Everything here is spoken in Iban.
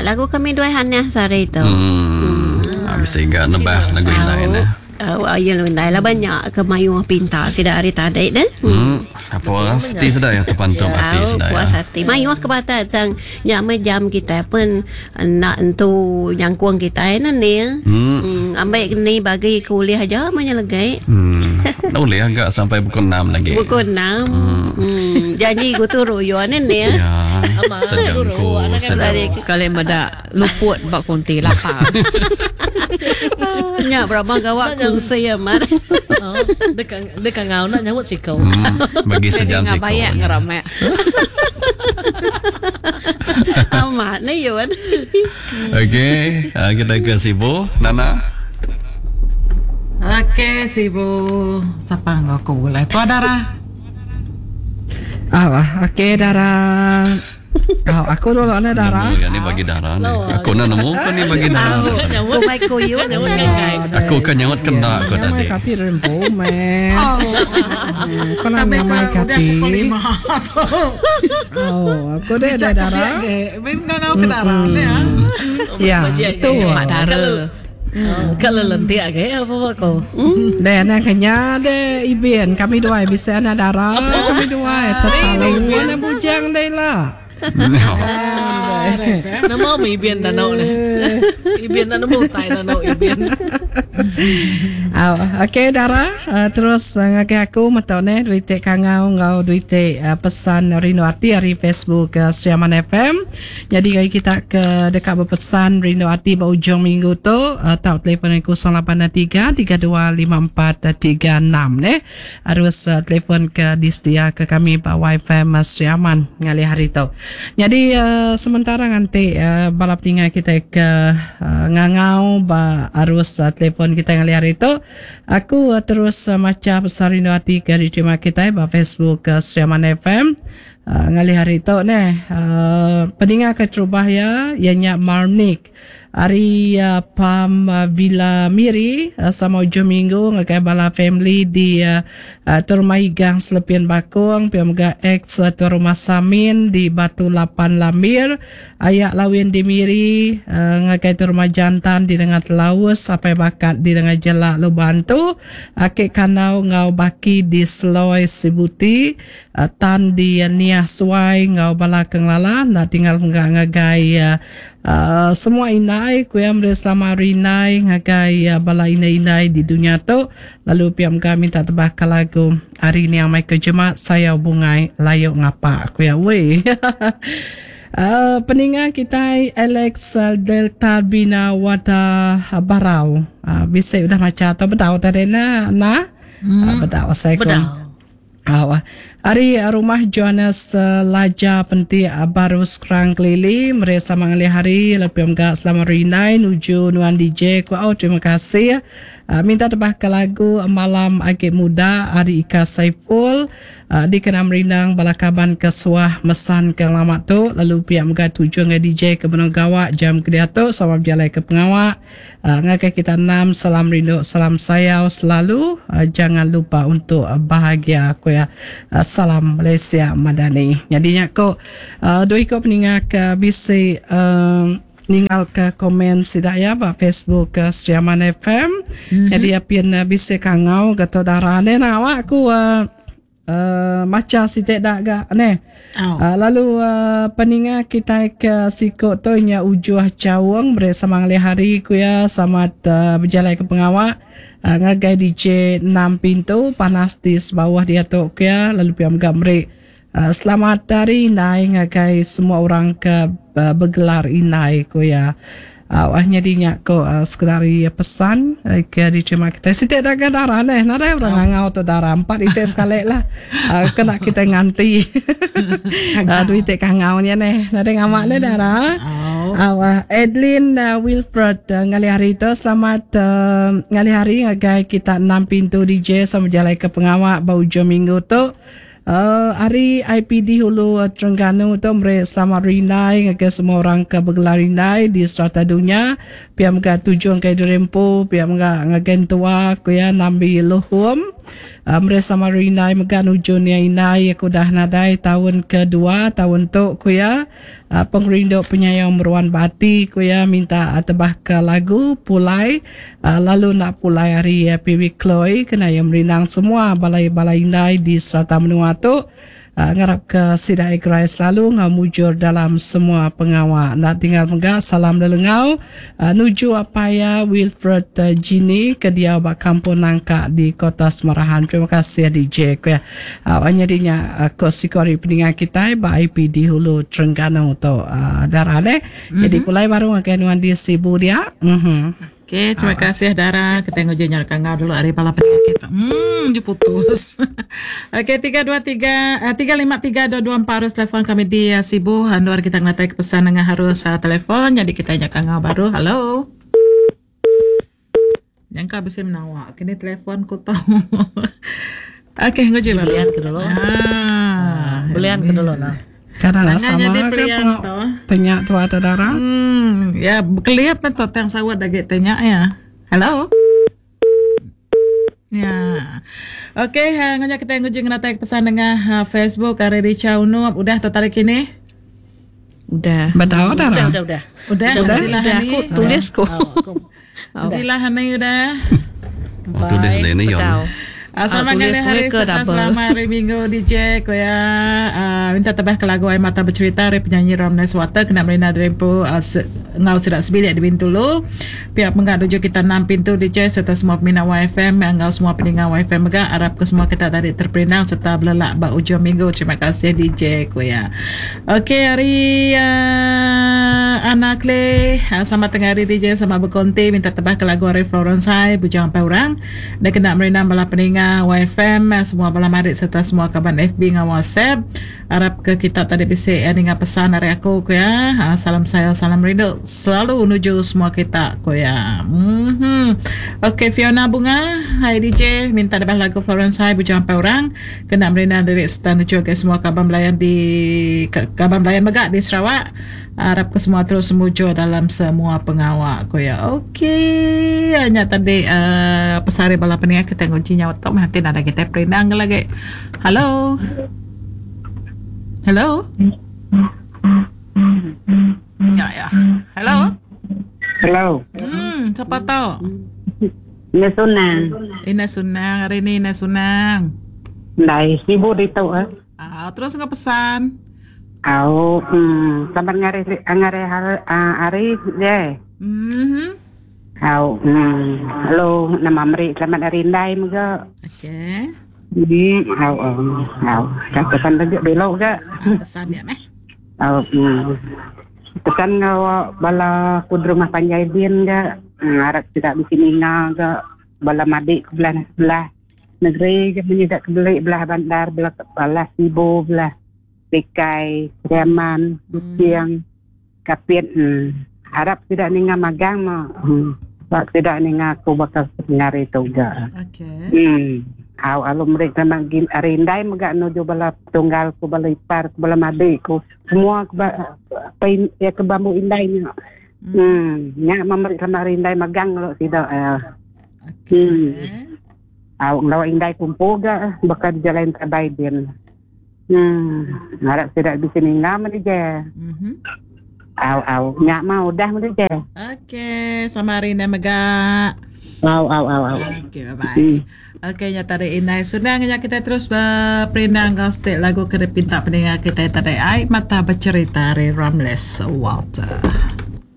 lagu kami duai Hannah sehari tu. Hmm. Bisi ga nebah lagu indai neh. Au iya lagu indai laban nya ke mayuh pinta sida ari tadi deh. Hmm. Puas ati sida iya tepantup ati sida iya. Puas ati. Mayuh ke batai tang nya meh jam kitai pen enda entu nyangkung kitai ne ni. Hmm. Ambi ni bagi ke ulih aja meh nya legi. Hmm. Ulih ga sampai pukul 6 lagi. Pukul 6. Hmm. Janji ku turu yo ne ni. Ya. Sejangku sejam. Sekali meda luput ba konti lapar. Nya berapa gawa kungsi amat. Deka deka ngau nak nyaut siko. Hmm, bagi sejam siko. Bayak ngeramek. Amat ni yun. Okey, ah, kita ke Sibu, Nana. Okey, Sibu. Sapa enggau aku gulai? Tua Dara. Ah, okey Dara. Oh, aku dulu ni Dara. Nemu ya ni bagi Dara ni. Aku nak nemu ke ni bagi Dara. Aku mai kuyun. Aku ke nyaut kena aku tadi. Nyamai kati rempu meh. Kau nak nyamai kati. Oh, aku deh dah Dara. Min kau ngau ke Dara ni ah. Ya, betul. Mak Dara. Ka lelentik agi apa ba ko. Deh anak kenya deh ibin kami duai bisi anak dara kami duai terlalu anak bujang deh lah. Nama meh ibin danu neh. Ibin enda nemu utai danu ibin. Au okey dara terus ngagai aku meto neh dua iti kangau enggau dua iti pesan rindu ati ari Facebook Sri Aman FM. Nyadi ngagai kita ke deka bepesan rindu ati ba ujung minggu tu tau telefon ngagai 083 3254 36 neh. Arus telefon ke disedia ke kami ba YFM Sri Aman ngalih hari tu. Nyadi sementara nganti bala peninga kita ke ngangau ba arus telefon kita ngalih hari tu aku terus macha pesan rindu ati ke diterima kitai ba Facebook Sri Aman FM. Ngalih hari tu neh peninga keterubah iya iya nya Marnick ari Palm Villa Miri sama ujung minggu ngagai bala family di Tuan Rumah Igang Selepin Bakong pia mega ex Tuan Rumah Samin di Batu Lapan Lambir Aya Lawin di Miri ngagai Tuan Rumah Jantan di Nengah Telaus Apai Bakat di Nengah Jelak Lubang Antu Aki Kandau enggau Baki di Seloi Sibuti Tan di Niah Suai enggau bala ke ngelala enda tinggal mega ngagai semua indai ku iya meri selamat hari indai ngagai bala indai-indai di dunya tu lalu pia mega minta tebah ka lagu ari niang Michael Jemat Sayau Bungai Layu Ngapa ku iya wei peninga kitai Alex Delta Bina Wada Barau bisi udah macha atau bedau tadi ne nah bedau asai ku. Au. Ari rumah Johannes Laja Pentik Baru Skrang Kelili meri sama ngalih hari lalu pia mega selamat rindai nuju nuan DJ ku au terima kasih. Minta tebah ke lagu Malam Agi Muda ari Ika Saiful dikena merindang bala kaban ke suah mesan ke ngelama tu lalu pia mega tuju ngagai DJ ke benung gawa jam ke diatu sama bejalai ke pengawa. Ngagai kita enam salam rindu salam sayau selalu jangan lupa untuk bahagia ku iya salam Malaysia Madani. Nyadi nya ko dua iko peninga ke bisi ninggal ke komen sida iya ba Facebook Sri Aman FM. Nyadi apin bisi kangau ga tu dara ne awak aku Macha siti da ga neh. Lalu peninga kitai ke siku tu nya Ujuh Chaung meri sama ngalih hari ku iya sama bejalai ke pengawa ngagai DJ enam pintu panas di sebauh diatu ku iya lalu pia mega meri selamat hari indai ngagai semua orang ke begelar indai ku iya. Au nyadi nya ko sekeda ari pesan ke diterima kitai. Siti dagang dara neh nadai orang ngangau tu dara empat iti sekali lah kena kitai nganti dua iti kangau nya neh nadai ngama neh dara. Au Adeline Wilfred ngalih hari tu selamat ngalih hari ngagai kita enam pintu DJ sama bejalai ke pengawa ba ujung minggu tu. Ari IPD Hulu Terengganu tu meri selamat rindai ngagai semua orang ke begelar rindai di serata dunya. Pia mega tuju ngagai diri empu, pia mega ngagai entua ku iya Nambi Luhum. Meri sama rindai mega nuju nia indai aku udah nadai taun kedua taun tu ku iya. Pengerindu penyayau meruan ba ati ku iya minta tebah ke lagu Pulai lalu enda pulai ari PW Chloe kena iya merindang semua bala-bala indai di serata menua tu. Ngarap ke sida gerai selalu enggau mujur dalam semua pengawa. Enda tinggal mega salam lelengau nuju apai iya Wilfred Jini ke diau ba Kampung Nangka di Kota Semarahan. Terima kasih DJ ku iya. Nyadi nya ko siku ari peninga kitai ba IPD Hulu Terengganu tu Dara deh. Jadi pulai baru ngagai nuan di Sibu dia. Okey, terima kasih Dara. Kita nguji nyau kangau dulu ari bala peninga kita. Je putus. Okey, 323 353 224 harus telefon kami di Sibu. Andu ari kita ngenatai ke pesan nengah harus telefon. Jadi kita nyau kangau baru. Hello. Nyangka bisi menawa kini telefon ku tu. Okey, nguji baru. Belian ke dulu. Ah, Belian ke dulu nah. Kada lah Tangan sama jadi ke pelian tu. tanya tua tu Dara. Ya kelip meh tu tang sawut agi tanya ya. Hello. Ya. Okey, ha, ngunya kita nguji ngenatai pesan nengah Facebook ari Richa Unup udah tu tarik kini. Udah. Bedau Dara. Udah udah udah. Udah, Udah, Zila udah Hani. aku tulis ku. Zila Hani udah. Oh, tulis ni ni yon. Bedau. Selamat tulis ngalih hari mereka serta double. selamat hari Minggu DJ ko ya. Minta tebah ke lagu Air Mata Bercerita hari penyanyi Ramles Water kena Marina Drempo ngau sedak sebilik di Bintulu. Pihak penggak tuju kita 6 pintu DJ serta semua peminat YFM ngau semua pendengar YFM mega harap ke semua kita tadi terperindang serta belelak ba ujung minggu. Terima kasih DJ ko ya. Okey hari Ana Clay, selamat tengah hari DJ sama berkonti minta tebah ke lagu hari Florence High Bujang Sampai Orang. Dan kena merindang bala peninga YFM semua bala marik serta semua kaban FB dengan WhatsApp. Harap ke kita tadi bisa dengar pesan dari aku ku ya. Salam saya, salam rindu selalu menuju semua kita ku ya. Okey Fiona Bunga, hai DJ minta tebah lagu Florence High Bujang Sampai Orang. Kena merindang diri serta menuju ke semua kaban belayan di kaban belayan megak di Sarawak. Harap ke semua terus mujur dalam semua pengawak ku ya. Okey, hanya tadi pesari bala peninga kita nguji nyawa tok meh hati nada kita perindang ke lagi. Hello. Hello. Ya ya. Hello. Hello. Siapa tahu? Ina Sunang. Ina Sunang hari ni Ina Sunang. Ndai sibuk ditu eh. Terus ngah pesan. Au, selamat ngari hari je. Au, hello, nama meri selamat hari indai mega. Okey. Au, au. Dah pesan lagi belok ke? Pesan dia meh. Au, Pesan ngau bala ku di rumah panjai din ke. Harap tidak di sini ngah ke bala madik ke belah belah negeri ke menyedak ke belik belah bandar belah belah Sibu belah Pekai, Riaman, Kuching, Kapit. Harap tidak ninga magang mah. Sebab tidak ninga aku bakal ngari tu juga. Okey. Au alu mereka magin arindai mega nuju bala tunggal ku bala ipar ku bala madik ku semua ku pain ya ke bambu indai nya. Nya memeriksa sama arindai magang lo tidak. Okey. Au ngelawa indai kumpul ga bakal jalan terbaik din. Harap tidak di sini ngam ni je. Au au nyak mau dah ni je. Okey, sama hari ni mega. Au au au au. Okey, bye bye. Okey, nya tadi Inai Sunang nya kita terus berperindang kau setiap lagu kena pinta pendengar kita tadi Air Mata Bercerita dari Ramles Walter.